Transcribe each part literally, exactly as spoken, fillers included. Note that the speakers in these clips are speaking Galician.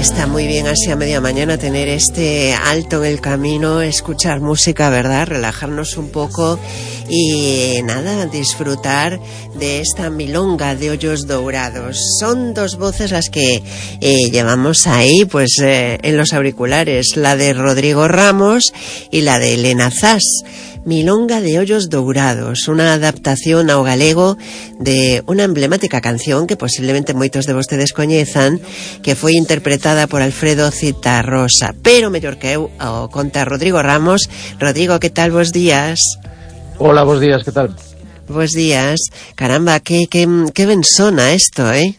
Está muy bien así a media mañana tener este alto en el camino, escuchar música, ¿verdad? Relajarnos un poco y nada, disfrutar de esta milonga de Hoyos Dourados. Son dos voces las que eh, llevamos ahí, pues eh, en los auriculares, la de Rodrigo Ramos y la de Elena Zas. Milonga de Hoyos Dourados, una adaptación ao galego de unha emblemática canción que posiblemente moitos de vostedes coñezan, que foi interpretada por Alfredo Zitarrosa, pero mellor que eu o conta Rodrigo Ramos. Rodrigo, que tal? Bos días. Hola, bos días, que tal? Bos días. Caramba, que, que, que ben sona isto, eh?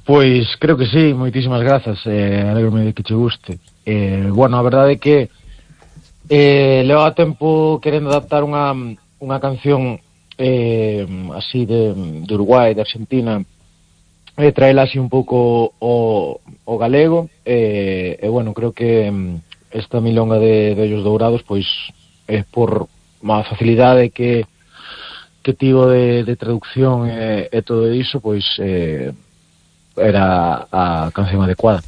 Pois creo que sí, moitísimas grazas, eh, alegrome de que che guste. Eh, bueno, a verdade é que Eh, leva tempo querendo adaptar unha, unha canción eh, así de, de Uruguai, de Argentina, e traela así un pouco o, o galego, e, e bueno, creo que esta milonga de, de Hoyos Dourados, pois é por má facilidade que que tivo de, de traducción e, e todo iso, pois eh, era a canción adecuada.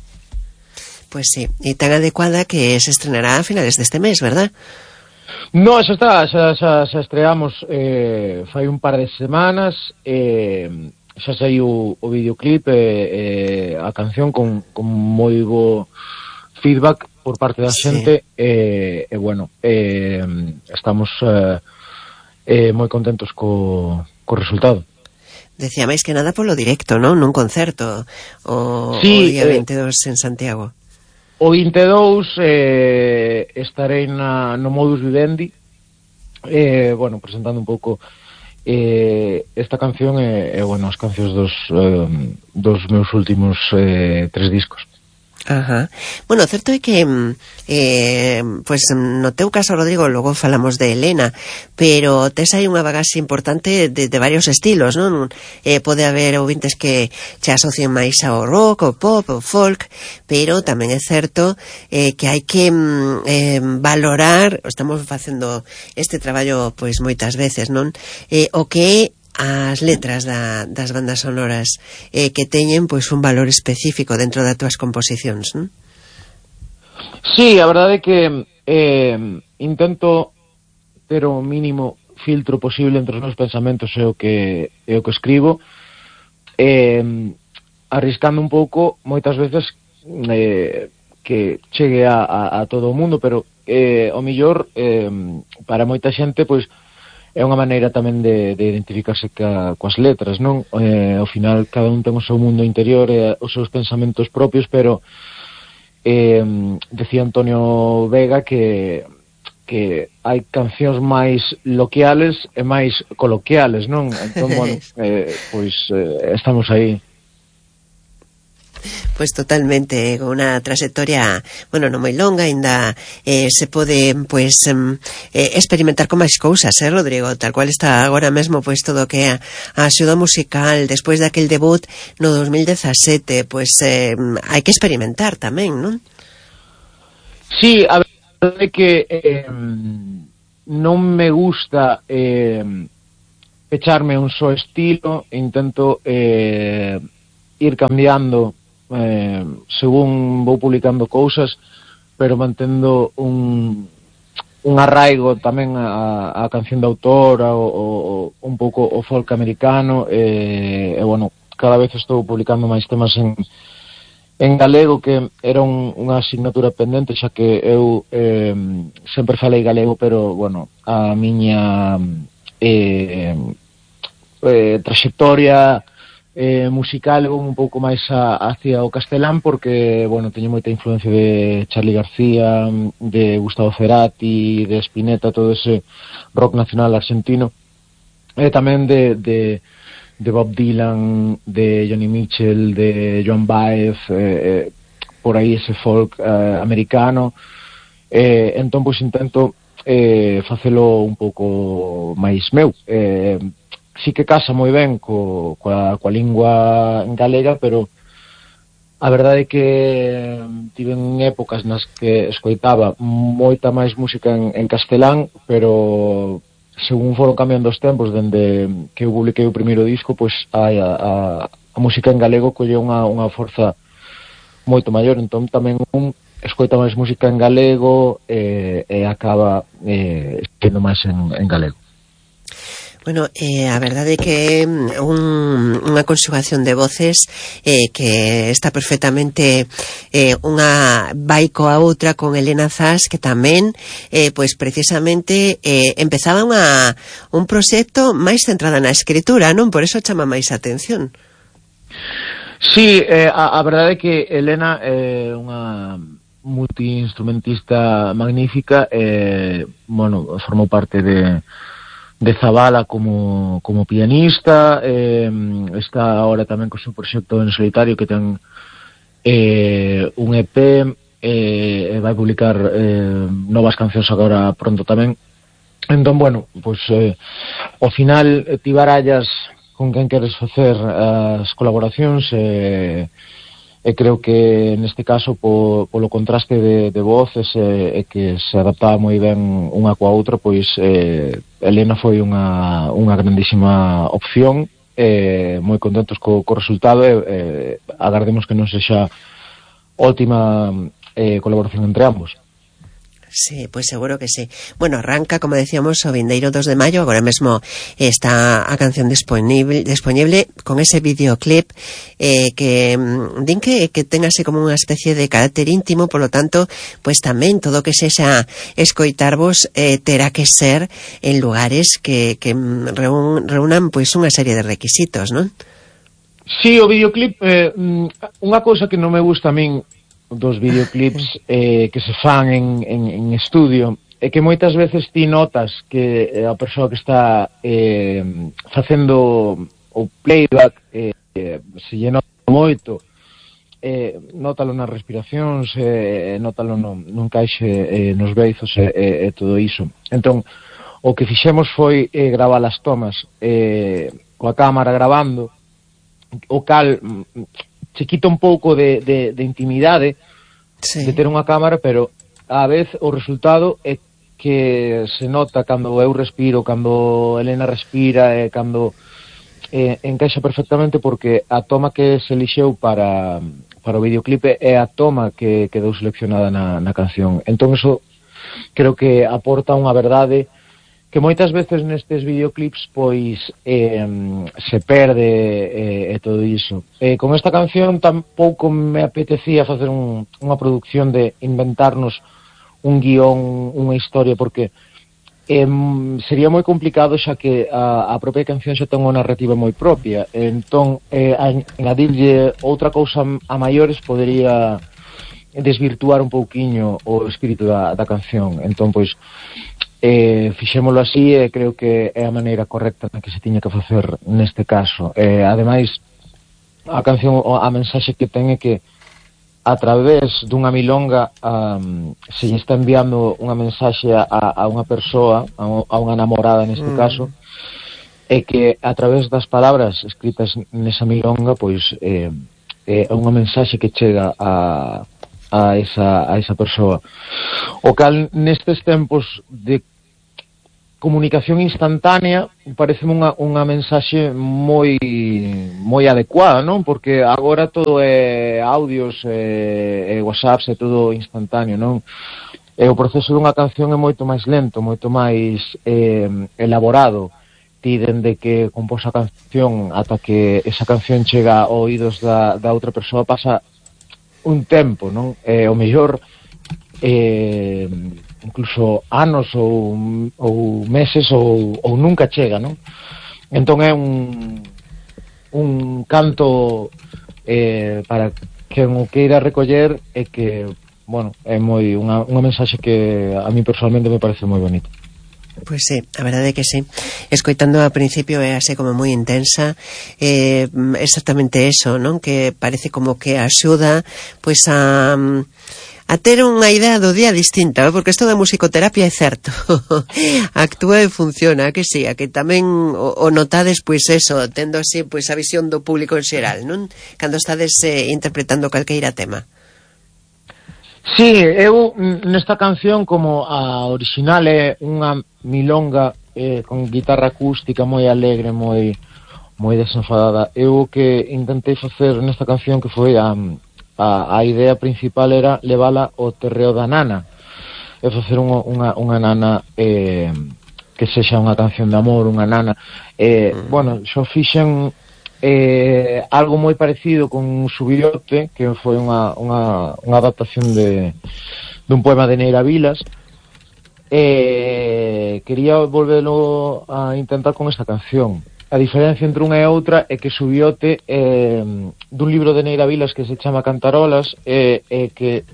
Pues sí, y tan adecuada que se estrenará a finales de este mes, ¿verdad? No, eso está, xa, xa, xa estreamos eh, fai un par de semanas, eh, xa saiu o videoclip e eh, eh, a canción con, con moi bo feedback por parte da xente, e sí. eh, eh, bueno, eh, estamos eh, eh, moi contentos co, co resultado. Decía máis que nada polo directo, non? Nun concerto o, sí, o día eh, veinte e dous en Santiago. O vinte e dous eh, estarei na, no Modus Vivendi, eh, bueno, presentando un pouco eh, esta canción e, eh, bueno, as cancións dos, eh, dos meus últimos eh, tres discos. Ajá. Bueno, o certo é que eh, pues no teu caso, Rodrigo, logo falamos de Elena, pero tes aí unha bagaxe importante de, de varios estilos, non? Eh, pode haber ouvintes que che asocien máis ao rock, ao pop, ao folk, pero tamén é certo eh, que hai que eh, valorar, estamos facendo este traballo pois moitas veces, non? Eh, o que as letras da, das bandas sonoras eh, que teñen pois un valor específico dentro das túas composicións, non? Sí, a verdade é que eh, intento ter o mínimo filtro posible entre os meus pensamentos e o que, e o que escribo, eh, arriscando un pouco moitas veces eh, que chegue a, a, a todo o mundo, pero eh, o mellor eh, para moita xente pois é unha maneira tamén de, de identificarse ca, coas letras, non? Eh, ao final, cada un ten o seu mundo interior e os seus pensamentos propios, pero eh, decía Antonio Vega que que hai cancións máis loquiales e máis coloquiales, non? Entón, bueno, eh, pois eh, estamos aí. Pues totalmente, con unha trayectoria, bueno, non moi longa, ainda eh, se pode, pues, eh, experimentar con máis cousas, eh, Rodrigo, tal cual está agora mesmo, pues, todo o que é a axuda musical, despois daquel debut no dos mil dezasete, pues, eh, hai que experimentar tamén, non? Sí, a verdade é que eh, non me gusta eh, pecharme un só estilo, intento eh, ir cambiando Eh, según vou publicando cousas, pero mantendo un un arraigo tamén a, a canción de autor, o, o, un pouco o folk americano, e, e bueno, cada vez estou publicando máis temas en en galego, que era un, unha asignatura pendente, xa que eu eh, sempre falei galego, pero bueno, a miña eh, eh, trayectoria Eh, musical é un pouco máis a, hacia o castelán, porque, bueno, teño moita influencia de Charly García, de Gustavo Cerati, de Spinetta, todo ese rock nacional argentino, e tamén de, de, de Bob Dylan, de Joni Mitchell, de Joan Baez, eh, por aí ese folk eh, americano, eh, entón, pois, intento eh, facelo un pouco máis meu, eh, sí que casa moi ben co, coa, coa lingua galega, pero a verdade é que tiven épocas nas que escoitaba moita máis música en, en castelán, pero según foron cambiando os tempos, dende que eu publiquei o primeiro disco, pois a, a, a música en galego colle unha, unha forza moito maior, entón tamén un escoita máis música en galego e, e acaba eh, sendo máis en, en galego. Bueno, eh, a verdade é que un, unha conxugación de voces eh, que está perfectamente eh, unha vai coa outra con Elena Zas, que tamén eh, pois precisamente eh, empezaba unha, un proxecto máis centrado na escritura, non? Por eso chama máis atención. Sí, eh, a, a verdade é que Elena é unha multiinstrumentista magnífica, eh, bueno, formou parte de de Zabala como, como pianista, eh, está ahora tamén co seu proxecto en solitario que ten eh, un E P, eh, e vai publicar eh, novas cancións agora pronto tamén. Entón, bueno, pois eh, ao final ti barallas con quen queres facer as colaboracións e eh, e creo que neste caso po, polo contraste de, de voces e, e que se adaptaba moi ben unha coa outra, pois eh, Elena foi unha, unha grandísima opción, eh, moi contentos co, co resultado e eh, agardemos que non sexa ótima eh, colaboración entre ambos. Sí, pois seguro que sí. Bueno, arranca, como decíamos, o vindeiro dos de maio. Agora mesmo está a canción disponible, disponible con ese videoclip eh, que din que, que ten así como unha especie de carácter íntimo, por lo tanto, pois tamén todo que sexa escoitarvos eh, terá que ser en lugares que, que reún, reúnan pois unha serie de requisitos, non? Sí, o videoclip, eh, unha cousa que non me gusta a min dos videoclips eh, que se fan en, en, en estudio é que moitas veces ti notas que a persoa que está eh, facendo o playback eh, eh, se lle nota moito, eh, nótalo nas respiracións, eh, nótalo no, no encaixe eh, nos beizos e eh, eh, todo iso. Entón, o que fixemos foi eh, gravar as tomas eh, coa cámara gravando, o cal se quita un pouco de, de, de intimidade, sí, de ter unha cámara, pero a vez o resultado é que se nota cando eu respiro, cando Elena respira, e cando eh, encaixa perfectamente, porque a toma que se elixeu para, para o videoclipe é a toma que quedou seleccionada na, na canción. Entón eso creo que aporta unha verdade que moitas veces nestes videoclips pois eh, se perde e eh, todo iso. Eh, con esta canción tampouco me apetecía facer un, unha producción de inventarnos un guión, unha historia, porque eh, sería moi complicado, xa que a, a propia canción xa ten unha narrativa moi propia. Entón, eh, añadirlle outra cousa a maiores podería desvirtuar un pouquiño o espírito da, da canción. Entón, pois, eh, fixémolo así e creo que é a maneira correcta na que se tiña que facer neste caso. Eh, ademais, a canción, a mensaxe que ten é que a través dunha milonga um, se lle está enviando unha mensaxe a, a unha persoa, a, a unha namorada neste mm. caso, e que a través das palabras escritas nesa milonga, pois eh, é unha mensaxe que chega a a esa, a esa persoa. O cal nestes tempos de comunicación instantánea parece unha, unha mensaxe moi moi adecuada, non? Porque agora todo é audios e, e whatsapps, é todo instantáneo, non? E o proceso dunha canción é moito máis lento, moito máis eh, elaborado. Ti dende que compós a canción ata que esa canción chega a oídos da, da outra persoa pasa un tempo, non? Eh, o mellor eh, incluso anos ou, ou meses ou, ou nunca chega, non? Entón é un un canto eh, para quen o queira recoller e que, bueno, é moi unha, unha mensaxe que a mí personalmente me parece moi bonita. Pois sí, a verdade é que sí. Escoitando ao principio é así como moi intensa, eh, exactamente eso, non? Que parece como que axuda pois a a ter unha idea do día distinta, ¿no? Porque isto da musicoterapia é certo. Actúa e funciona, que sí, a que tamén o, o notades pois eso, tendo así pois a visión do público en xeral, non? Cando estades eh, interpretando calqueira tema. Sí, eu nesta canción, como a original é unha milonga eh, con guitarra acústica moi alegre, moi moi desenfadada, eu o que intentei facer nesta canción que foi a, a, a idea principal era levala ao terreo da nana e facer unha, unha, unha nana eh, que sexa unha canción de amor, unha nana eh, mm. bueno, xo fixen eh, algo moi parecido con Subiote, que foi unha, unha, unha adaptación de dun poema de Neira Vilas. Eh, quería volverlo a intentar con esta canción. A diferencia entre unha e outra é que Subiote eh, dun libro de Neira Vilas que se chama Cantarolas e eh, eh, que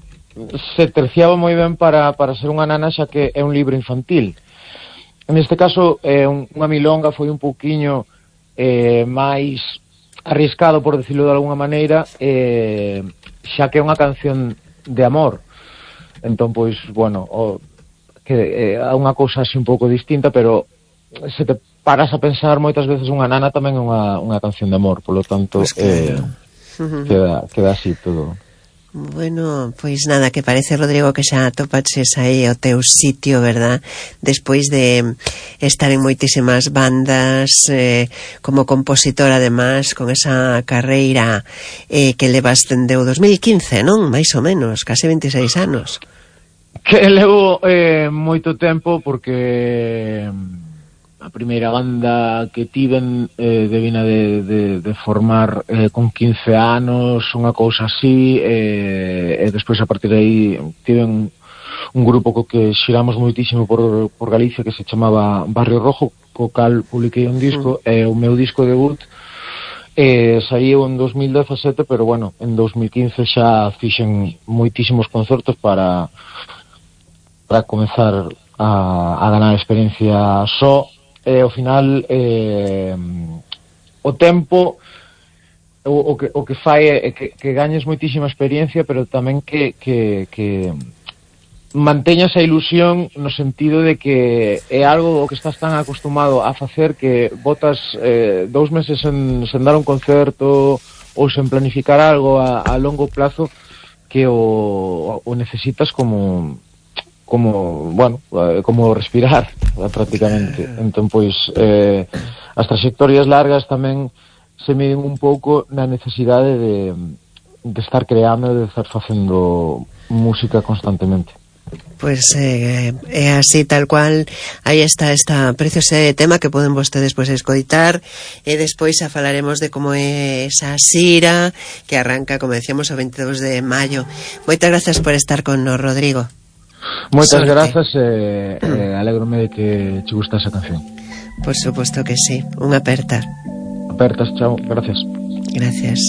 se terciaba moi ben para, para ser unha nana, xa que é un libro infantil. Neste caso eh, un, unha milonga foi un pouquiño eh, máis arriscado, por decirlo de alguna maneira, eh, xa que é unha canción de amor. Entón, pois, bueno, o, que é eh, unha cousa así un pouco distinta, pero se te paras a pensar, moitas veces unha nana tamén é unha, unha canción de amor, polo tanto, pues claro. eh, queda, queda así todo. Bueno, pois nada, que parece, Rodrigo, que xa atopaches aí o teu sitio, verdad? Despois de estar en moitísimas bandas, eh, como compositor, además, con esa carreira eh, que levas dende o dos mil quince, non? Mais ou menos, case veintiséis anos. Que levo eh, moito tempo, porque a primeira banda que tiven eh, devina de, de, de formar eh, con quince anos, unha cousa así, eh, e despois a partir de aí tiven un grupo co que xiramos moitísimo por, por Galicia que se chamaba Barrio Rojo, co cal publiquei un disco, mm. e o meu disco debut eh, saiu en dos mil dezasete, pero bueno, en dos mil quince xa fixen moitísimos concertos para para comezar a, a ganar experiencia só. E ao final eh, o tempo o, o, que, o que fai é que, que gañes moitísima experiencia, pero tamén que, que, que manteñas a ilusión, no sentido de que é algo o que estás tan acostumado a facer que botas eh, dous meses en, sen dar un concerto ou sen planificar algo a, a longo plazo, que o, o necesitas como como, bueno, como respirar prácticamente. Entón, pois eh, as trayectorias largas tamén se miden un pouco na necesidade de, de estar creando, de estar facendo música constantemente. Pois é eh, así, tal cual. Aí está esta preciosa tema que poden vostedes pois escoitar, e despois a falaremos de como é esa xira que arranca, como decíamos, o veintidós de maio. Moitas grazas por estar con nos, Rodrigo. Moitas grazas, e eh, eh, alégrome de que che gusta esa canción. Por suposto que sí. Unha aperta. Apertas, chao, gracias. Gracias.